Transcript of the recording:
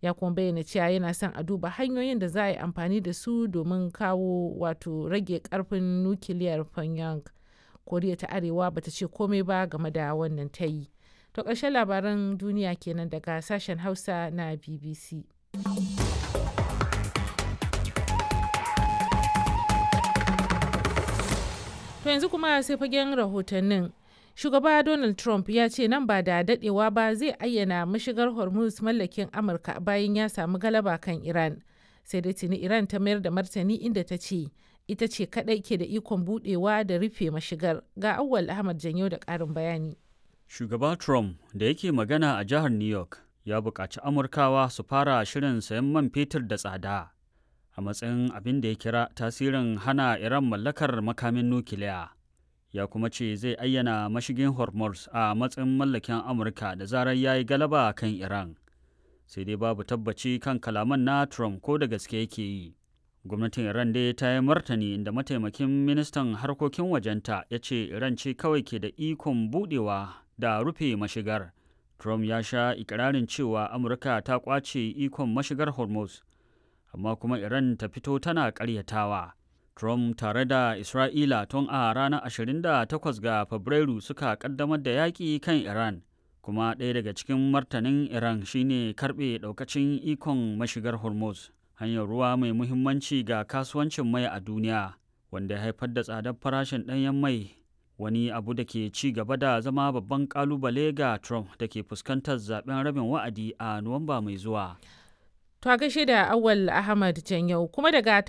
Ya kuma bayyana cewa yana son a duba hanyoyin da za a yi amfani da su domin kawo wato rage karfin nukiliyar Pyongyang. Koriya ta Arewa bata ce komai ba game da wannan tayi. To ƙarshen labaran duniya kenan daga sashen Hausa na BBC. To yanzu kuma sai fagen rahotannin. Shugaba Donald Trump ya ce nan ba da dadewa ba zai ayyana mashigar Hormuz mallakin Amurka bayan ya samu galaba kan Iran. Sai dai tuni Iran ta mayar da martani inda ta ce ita ce kadai ke da ikon budewa da rufe mashigar. Ga Auwal Ahmad Janyo da ƙarin bayani. Shugaba Trump da yake magana a jihar New York ya buƙaci Amurkawa su fara shirin sayan man fetur da tsada a matsayin abin da ya kira tasirin hana Iran mallakar makamin nukiliya. Ya kuma ce zai ayyana mashigin Hormuz a matsayin mallakin Amurka da zarar ya yi galaba kan Iran. Sai dai babu tabbaci kan kalaman na Trump ko da gaske yake yi. Gwamnatin Iran dai ta yi martani inda mataimakin ministan harkokin wajenta ya ce Iran ce kawai ke da ikon budewa da rufe mashigar. Trump ya sha ikirarin cewa Amurka ta kwace ikon mashigar Hormuz, amma kuma Iran ta fito tana karyatawa. Trump tare da Isra'ila tun a ranar 28 ga Fabrairu suka kaddamar da yaƙi kan Iran, kuma ɗaya daga cikin martanin Iran shine karɓe ɗaukacin ikon mashigar Hormuz, hanyar ruwa mai muhimmanci ga kasuwancin mai a duniya, wanda ya haifar da tsadar farashin ɗanyen mai, wani abu da ke ci gaba da zama babban kalubale ga Trump da ke fuskantar zaben rabin wa'adi a Nuwamba mai zuwa. To a gaishe da Awal Ahmad Janyau kuma daga